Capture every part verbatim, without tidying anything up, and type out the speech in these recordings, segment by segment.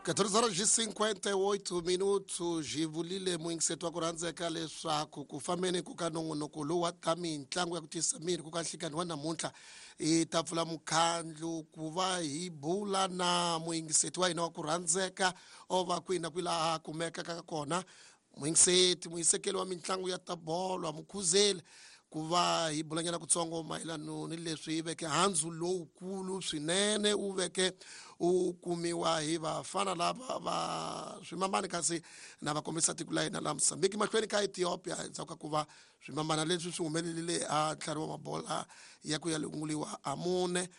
catorze horas e cinquenta e oito minutos hi vulile muyingiseti wa ku rhandzeka leswaku ku fambeni ku ka nongonoko lowu wa ta mitlangu ya ku tiyisa miri ku ka nhlikani wa namuntlha hi ta pfula mukhandlu ku va hi bula na muyingiseti wa hina wa ku rhandzeka o va kwihi na kwihi laha a kumekaka kona muyingiseti muyisekeli wa mitlangu ya ta bolo mukhuzeli ku va hi bulanyana kutsongo mayelano ni leswi hi veke handzu lowukulu swinene wu veke u kumiwa hi vafana lava va swimamani kasi na va kombisa tiko la hina la Mozambique mahlweni ka Ethiopia endzhaku ka ku va swimamana leswi swi humelerile a ntlhari wa mabola ya ku ya lunguliwa a mune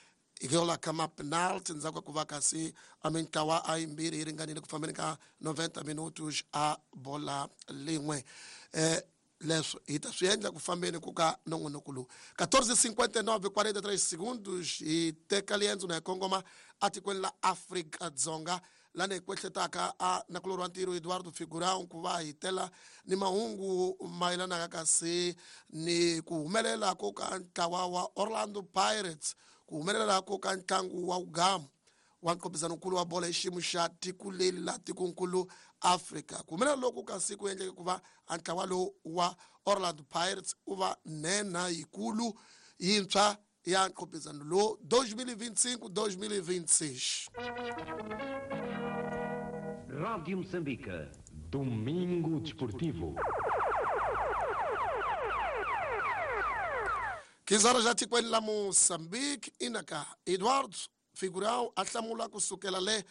hikwalaho ka ma-penalty endzhaku ka ku va kasi a mintlawa a yimbirhi yi ringanile ku fambeni ka noventa minutos a bola lin'we eh leswo hi ta swi endla ku fambeni ku ka nongonoko lowu catorze cinquenta e nove quarenta e três segundos hi teka liendzo na hi kongoma atikweni la Afrika-Dzonga lani hi kwehletaka a nakulorhi wa ntirho Eduardo Figurão ku va hi tela ni mahungu mayelanaka kasi ni ku humelela ko ka ntlawa wa Orlando Pirates ku humelela ko ka ntlangu wa Ugamu wa nqophisanonkulu wa bolo hi xiyimo xa tiko leri la tikonkulu Afrika ku humelela loku kasi ku endleke ku va a ntlawa lowu wa Orlando Pirates u va nhenha yikulu yintshwa ya nqophisano lowu dois mil e vinte e cinco dois mil e vinte e seis. Rádio Moçambique, Domingo Desportivo. quinze horas já tikweni la Moçambique inaka Eduardo Figurão a hlamula ku sukela le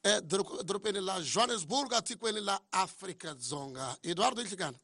edorobeni la Johannesburg atikweni la Afrika-Dzonga. Eduardo Nhlikana.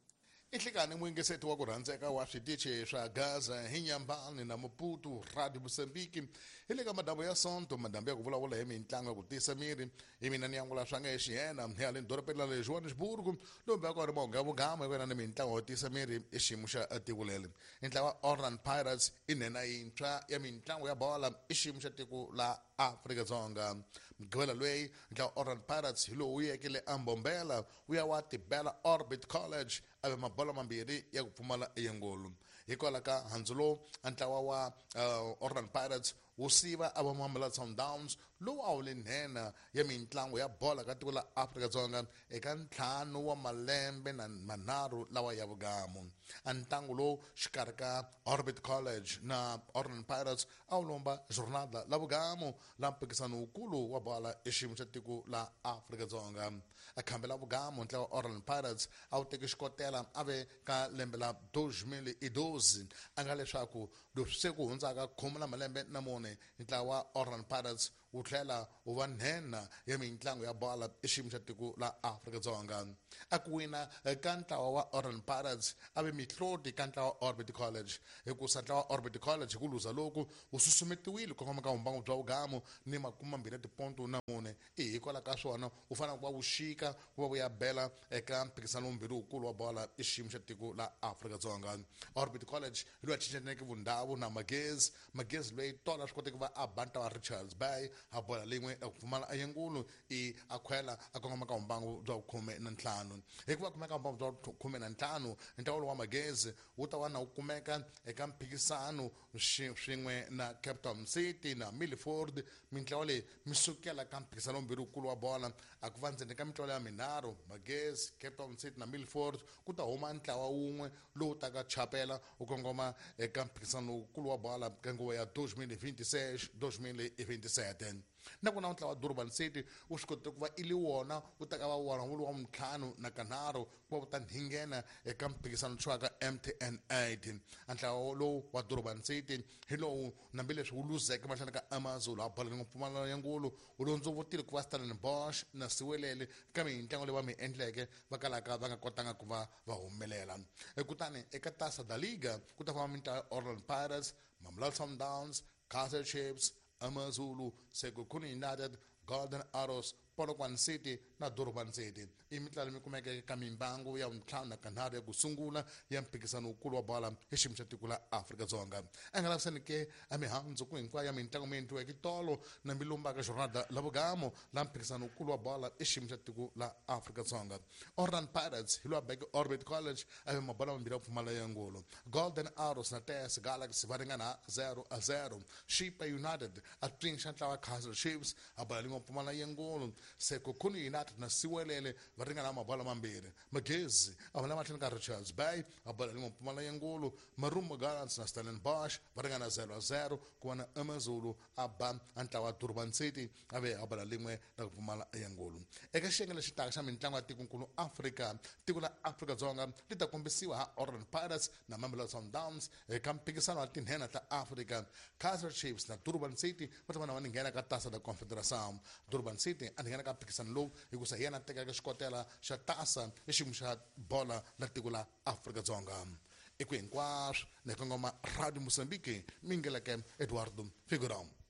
Nhlikani muyingiseti wa ku rhandzeka wa switichi swa Gaza hi Nyambani na Maputo Radio Mozambique hi le ka madambu ya Sonto madambu ya ku vulavula hi mitlangu ya ku tiyisa miri hi mina ni angula swa nga hi xiyena hi haleni dorobeni la le Johannesburg lombe ya ku ri mahungu ya vugama hi wena ni mitlangu yo tiyisa miri i xiyimo xa tiko leri ntlawa wa Orlando Pirates i nhenha yintshwa ya mitlangu ya bola i xiyimo xa tiko la Afrika-Dzonga mugqivela loyi ntlawa Orlando Pirates hi lowu wu yeke le Ambombela wu ya wa tibela Orbit College a ve mabola mambirhi ya ku pfumala eyengolo hikwalaho ka handzu lowu ntlawa wa uh, Orlando Pirates wu siva a va Mamelodi Sundowns lowu a wu le nhenha ya mitlangu ya bola ka tiko la Afrika-Dzonga eka ntlhanu wa malembe na manharhu lawa ya vugamu a ntlangu lowu xikarhi ka Orbit College na Orlando Pirates a wu lomba jornada la vugamu la mpikisano wukulu wa bola i xiyimo xa tiko la Afrika-Dzonga a khambe la vugamu ntlawa wa Orlando Pirates a wu teki xikotela a ve ka lembe la dois mil e doze a nga leswaku leswi se ku hundzaka khume na malembe na mune ntlawa wa Orlando Pirates wu tlhela wu va nhenha ya mitlangu ya bola i xiyimo xa tiko la Afrika-Dzonga a ku wina ka ntlawa wa Orlando Pirates a ve mihloti ka ntlawa wa Orbit College hikusa ntlawa wa Orbit College hi ku luza loku wu susumetiwile ku kongoma ka vumbangu bya vugamu ni makume mambirhi ya tiponto na mune i hikwalaho ka swona wu fanele ku va wu xika ku va wu ya bela eka mphikisano wumbirhi wukulu wa bola i xiyimo xa tiko la Afrika-Dzonga Orbit College hi loyi a cincaneke vundhawu na Magezi Magezi loyi tola swi koteke ku va a ba ntlawa wa Richards Bay a bola lin'we a ku pfumala ayengulu i a khwela a kongoma ka vumbangu bya khume na ntlhanu hikuva kumeka vumbangu bya khume na ntlhanu ntlawa lowu wa Magezi wu ta va na wu kumeka eka mphikisano swin'we na Cape Town City na Milford mintlawa leyi mi sukela ka mphikisano wumbirhi wukulu wa bola a ku va ndzeni ka mintlawa ya minharhu Magezi Cape Town City na Milford ku ta huma ntlawa wun'we lowu taka chapela wu kongoma eka mphikisano wukulu wa bola ka nguva ya dois mil e vinte e seis dois mil e vinte e sete na ku na ntlawa wa Durban City wu swi kotile ku va i li wona wu ta ka va wona wu ri wa ntlhanu na kanharhu ku va wu ta nghena eka mphikisano tshwaka M T N eight a ntlawa lowu wa Durban City hi lowu hambileswi wu luzeke mahlweni ka Amazulu a bola ni mpfumalano ya ngulu wu londzovotile ku va Stellenbosch na Siwelele ka mitlangu leyi va mi endleke va kalaka va nga kotanga ku va va humelela kutani eka Taça da Liga ku ta famba mintlawa ya Orlando Pirates Mamelodi Sundowns Kaizer Chiefs Amazulu Sekhukhune United Golden Arrows Polokwane City na Durban City i mitlawa leyi kumekeke ka mimbangu ya ntlhanu na kanharhu ya ku sungula ya mphikisano wukulu wa bola hi xiyimo xa tiko la Afrika-Dzonga a nga lavisani ke a mihandzu ku hinkwayo ya mitlangu mi endliweke tolo na milumbaka jornada la vugamo la mphikisano wukulu wa bola i xiyimo xa tiko la Afrika-Dzonga Orlando Pirates hi lowa beke Orbit College a ve mabola mambirhi ya ku pfumala ya ngolo Golden Arrows na T S Galaxy va ringana zero a zero Chippa United a pfinxa ntlawa Kaizer Chiefs a bola lin'we lin'we pfumala yengolo Sekhukhune United na Siwelele va ringana mabolo mambirhi Magezi a va la mahlweni ka Richards Bay a bola lin'we pfumala yengolo Marumo Gallants na Stellenbosch va ringana zero a zero ku va na AmaZulu a ba a ntlawa Durban City a ve a bola lin'we ra ku pfumala yengolo eka xiyenge lexi taka xa mitlangu ya tikonkulu Afrika tiko la Afrika-Dzonga li ta kombisiwa ha Orlando Pirates na Mamelodi Sundowns eka mphikisano wa tinhenha ta Afrika Kaizer Chiefs na Durban City va ta va na va nghena ka Taça da Confederação Durban City a nghena ka mphikisano lowu hikusa hi yena a tekaka xikotela xa Taça i xiyimo xa bola la tiko la Afrika-Dzonga i ku hinkwaswo ni kongoma Radio Mozambique mingeleke Eduardo Figurão.